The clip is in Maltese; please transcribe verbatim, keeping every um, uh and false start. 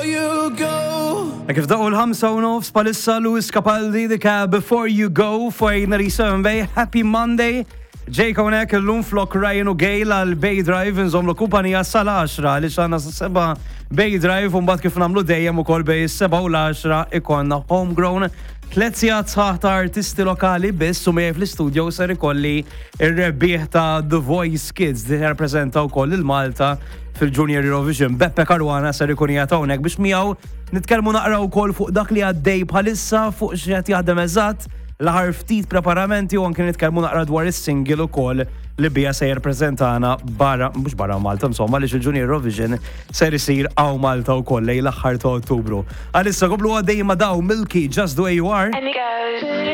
you go. Kif daqqu l-ħamsa u nofs bħalissa, Lewis Capaldi, The Cab, "Before You Go" fuq ninety-seven Bay. Happy Monday. Jake hawnhekk illum flok Ryan u Gail għal Bay Drive, nżommlu kumpanija sal-għaxra li xana seba Bay Drive, u mbagħad kif nagħmlu dejjem ukoll bejn is-seba u l-għaxra ikollna Homegrown. Tliet sigħat sħaħ ta' artisti lokali biss, u miegħi fl-istudio ser ikolli ir-rebbieħ ta' The Voice Kids li rappreżenta wkoll il-Malta fil-Junior Eurovision. Beppe Caruana ser ikun qiegħed hawnhekk biex miegħu nitkellmu naqra wkoll fuq dak li għaddej bħalissa, fuq x'qed jaħdem eżatt, l-aħħar ftit preparamenti, u anke nitkellmu naqra dwar is-single ukoll li bija se jirrepreżentana barra, mhux barra Malta, insomma, li il-Junior Eurovision ser isir hawn Malta wkoll lejn l-aħħar ta' Ottubru. Għalissa komplu għaddej ma' daw Milky, "Just the Way You Are". And it goes.